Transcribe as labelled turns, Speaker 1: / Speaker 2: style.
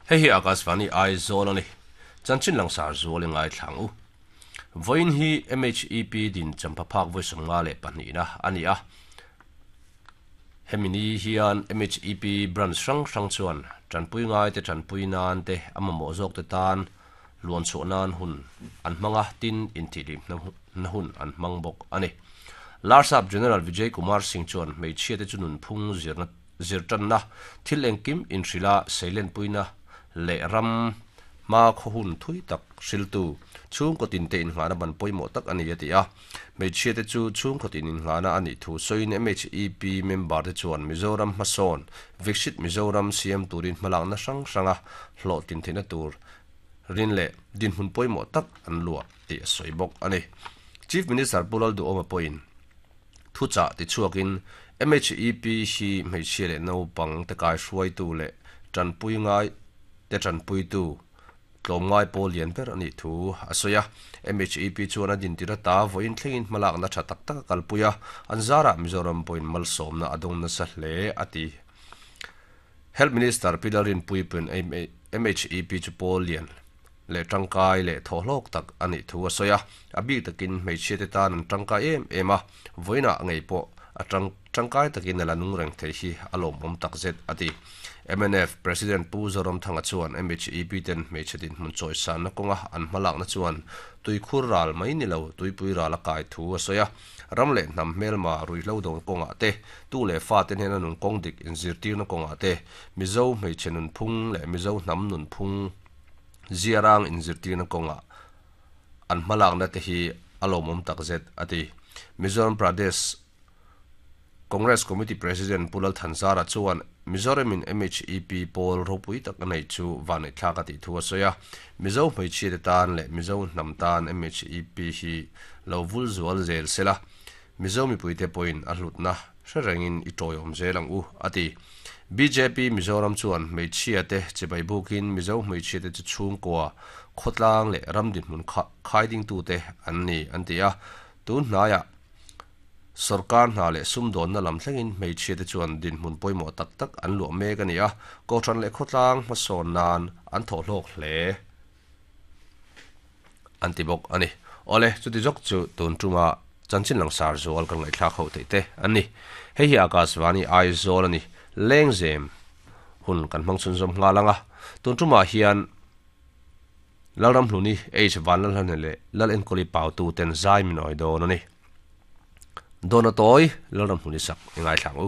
Speaker 1: Hei hi Akashvani Aizawl a ni. Chanchin langsar zual i ngaithlang u. Vawiin hi MHEP din champha phak vawi 52 na a ni a. Hemi ni hian MHEP branch hrang hrang chuan tanpui ngai te tanpui nan te a mamawh zawk te tan luan chhuah nan hun an hmang a, tin intihlim na hun an hmang bawk a ni. Larsap General Vijay Kumar Singh chuan hmeichhia te chu nunphung zirna zirtanna, thil engkim inhrilha seilenpuina leh ram hma khaw hun thui tak hriltu chhungkaw tinte innghahna ban pawimawh tak a ni a ti a. Hmeichhiate chu chhungkaw tin innghahna a nih thu sawiin MHEP member te chuan Mizoram hmasawn, Viksit Mizoram siam turin hmalakna hrang hranga hlawhtlin theihna tur rin leh dinhmun pawimawh tak an luah tih a sawi bawk a ni. Chief Minister Pu Lalduhawma pawhin thuchah tichhuakin MHEP hi hmeichhia leh naupang te kaihruaitu leh tanpui ngai te tanpuitu tlawmngai pawl lian ber a nih thu a sawi a. MHEP chuan a dintir ata vawiin thlengin hmalakna tha tak tak a kalpui a, an zarah Mizoram pawhin malsawmna a dawng nasa hle a ti. Health Minister Pi Lalrinpuipuiin MHEP chu pawl lian leh tangkai leh thawhhlawk tak a nih thu a sawi a, a bik takin hmeichhiate tan an tangkai em em a, vawiinah ngei pawh a tangkai takin a la nung reng thei hi a lawmawm takzet a ti. Mnf President Pu Zoramthanga chuan MHEP ten hmeichhe dinhmun chawisanna kawnga an hmalakna chuan tuikhur ral mai ni lo tuipui ral a kai thu a sawi a, Ram leh hnam hmelma ruihhlo dawn kawngah te, tu leh fate hnena nun kawng dik inzirtirna kawngah te, Mizo hmeichhe nunphung leh Mizo hnam nunphung ziarang inzirtirna kawngah an hmalakna te hi a lawmawm takzet, a ti. Mizoram Pradesh Congress Committee President Pu Lal Thanzara chuan Mizoramin MHEP pawl ropui tak a neih chu vanneihthlak a tih thu a sawi a. Mizo hmeichhiate tan leh Mizo hnam tan MHEP hi lo vul zual zel se la, Mizo mipuite pawhin a hlutna hre rengin i tawiawm zel ang u, a ti. Bjp Mizoram chuan hmeichhiate chibai bukin Mizo hmeichhiate chu chhungkua, khawtlang leh ram dinhmun khaidingtute an ni, an ti a. Tun hnaiah Sorkar hna leh sumdawnna lam thlengin hmeichhiate chuan dinhmun pawimawh tak tak an luah mek a ni a, Kohhran leh khawtlang hmasawn nan an thawhhlawk hle an ti bawk a ni. Awle, chuti zawk chu tun tuma chanchin langsar zual kan ngaihthlak ho theih te an ni. Hei hi Akashvani Aizawl a ni. Lengzem hun kan hmang chhunzawm nghal ang a, tun tumah hian Lalramhluni, H. Vanlalhlane leh Lalenkawli Pautu ten zai min awi dawn a ni. Dawna tawi Lalramhluni sak i ngaithla ang u.